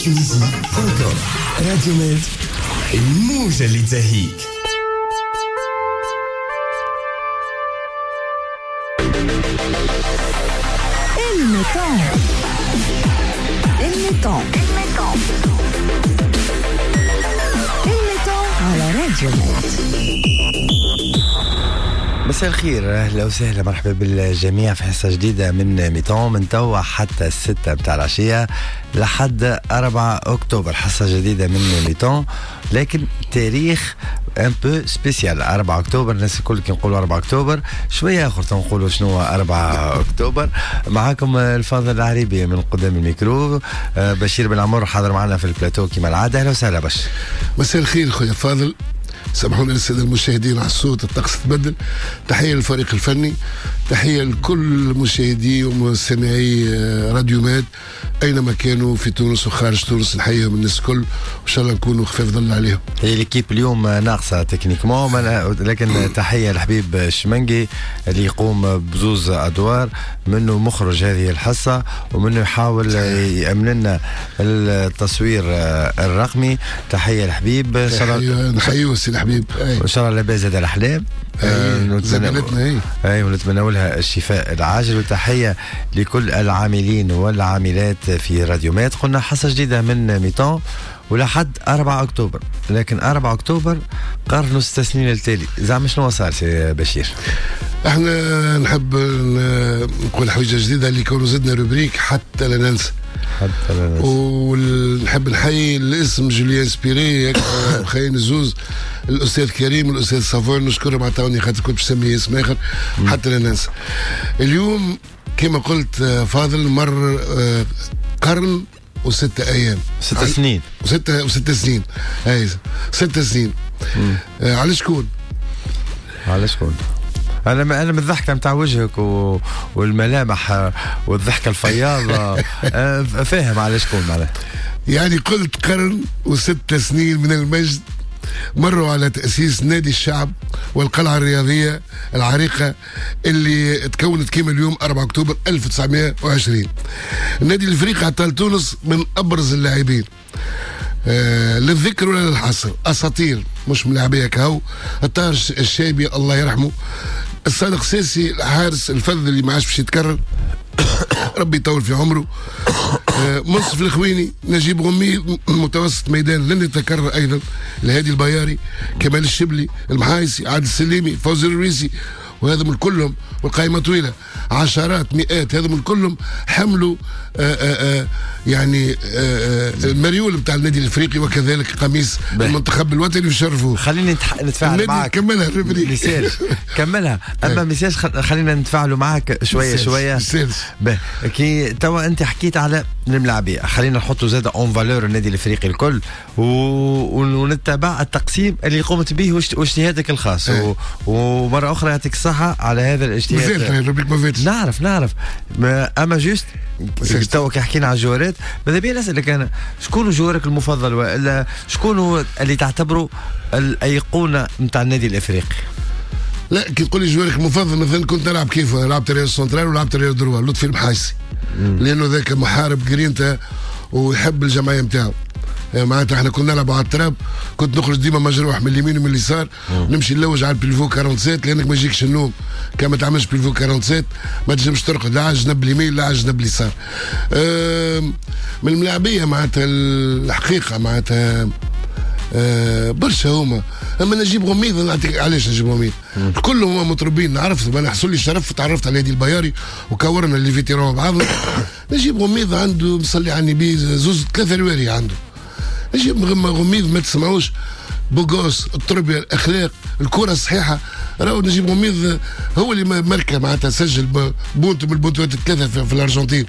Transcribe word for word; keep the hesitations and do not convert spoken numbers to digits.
Tunisie point com. راديو ميد، الموجة اللي تزهيك. الميتون الميتون الميتون على راديو ميد. مساء الخير، اهلا وسهلا، مرحبا بالجميع في حصة جديدة من mi-temps من توا حتى الستة متاع العشية لحد أربعة اكتوبر. حصة جديدة من mi-temps لكن تاريخ un peu spécial، أربعة اكتوبر. الناس الكل كي نقولوا أربعة اكتوبر شوية اخر تنقولوا شنو أربعة اكتوبر. معاكم الفاضل العريبي من قدام الميكرو، بشير بن عمر حاضر معنا في البلاتو كما العادة. اهلا وسهلا بشير. مساء الخير خويا فاضل، سامحونا للسادة المشاهدين على الصوت، الطقس تبدل. تحية للفريق الفني، تحية لكل مشاهدي ومستمعي راديو ماد اينما كانوا في تونس وخارج تونس، نحييهم الناس الكل وان شاء الله نكونوا خفاف ظل عليهم. هي l'équipe اليوم ناقصه techniquement، لكن تحية لحبيب الشمنجي اللي يقوم بزوز ادوار، منه مخرج هذه الحصة ومنه يحاول يامن لنا التصوير الرقمي. تحية لحبيب، نحييه سي الحبيب، وان شاء الله لاباس زاد الاحلام زميلتنا، اي ونتمنى لها الشفاء العاجل. وتحية لكل العاملين والعاملات في راديو ماد. قلنا حصة جديدة من mi-temps ولحد أربعة اكتوبر، لكن أربعة اكتوبر قرن وست سنين التالي، زعما شنو صار سي بشير؟ احنا نحب نقول حاجة جديدة اللي كونوا زدنا rubrique حتى لا ننسى، حتى لا ننسى. ونحب نحيي الاسم جوليان سبيري خلينا الزوز، الاستاذ كريم والاستاذ صافون، نشكرهم عطاوني خاطر كنت باش نسمي اسم اخر حتى لا ننسى. اليوم كما قلت فاضل مر قرن وستة ايام، ست سنين، وستة وست سنين، اي ست سنين. آه على شكون؟ على شكون؟ انا انا من الضحكة نتاع وجهك و... والملامح والضحكه الفياضه فاهم على شكون معناها. يعني قلت قرن وست سنين من المجد مروا على تأسيس نادي الشعب والقلعة الرياضية العريقة اللي تكونت كما اليوم أربعة أكتوبر ألف وتسعمائة وعشرين. النادي الإفريقي عطى تونس من أبرز اللاعبين، آه للذكر ولا للحصر، أساطير مش ملاعبية كهو. الطاهر الشابي الله يرحمه، الصادق ساسي الحارس الفذ اللي ما عادش باش يتكرر ربي يطول في عمره، منصف الخويني، نجيب غمي متوسط ميدان لن يتكرر ايضا، الهادي البياري، كمال الشبلي، المحايسي، عادل السليمي، فوزي الرويسي، وهذا من كلهم والقائمه طويلة، عشرات مئات، هذا من كلهم حملوا آآ آآ يعني آآ المريول بتاع النادي الافريقي وكذلك قميص المنتخب الوطني وشرفوه. خليني نتفاعل معك، كملها ال rubrique كملها، اما ميساج خلينا نتفاعلوا معك شوية شوية. كي توا انت حكيت على الملاعبيه، خلينا نحطوا زاد en valeur النادي الافريقي الكل و... ونتبع التقسيم اللي قمت به واجتهادك الخاص و... ومرة اخرى يعطيك الصحة على هذا الاجتهاد. نعرف نعرف اما juste توا كي حكينا على الجوارات، ماذا بيا نسالك انا شكون جوارك المفضل والا شكون اللي تعتبره الايقونه نتاع النادي الافريقي؟ لا كي تقول لي جوارك المفضل، مثلا كنت نلعب كيف لعبت arrière central ولعبت arrière droit، لطفي المحايسي، لانه ذاك محارب جرينتا ويحب الجمعية نتاعو. معناتها احنا كنا نلعبوا على التراب، كنت نخرج ديما مجروح من اليمين ومن اليسار، نمشي نلوج على ال pivot سبعة وأربعين لانك ما يجيكش النوم كان ما تعملش pivot سبعة وأربعين ما تنجمش ترقد لا على الجنب اليمين لا على الجنب اليسار. من الملاعبيه معناتها الحقيقة معناتها أه برشا هما. اما نجيب غميض نعطيك علاش نجيب غميض، كلهم هما مطربين، عرفت انا حصل لي الشرف تعرفت على هادي البياري وكورنا les vétérans بعضنا. نجيب غميض عنده مصلي على النبي زوز ثلاثة رواري عنده. نجيب غميض ما تسمعوش، beau gosse، التربية، الاخلاق، الكره الصحيحة. راهو نجيب غميض هو اللي مركه معناتها سجل بونت من البونتوات الثلاثة في, في الارجنتين.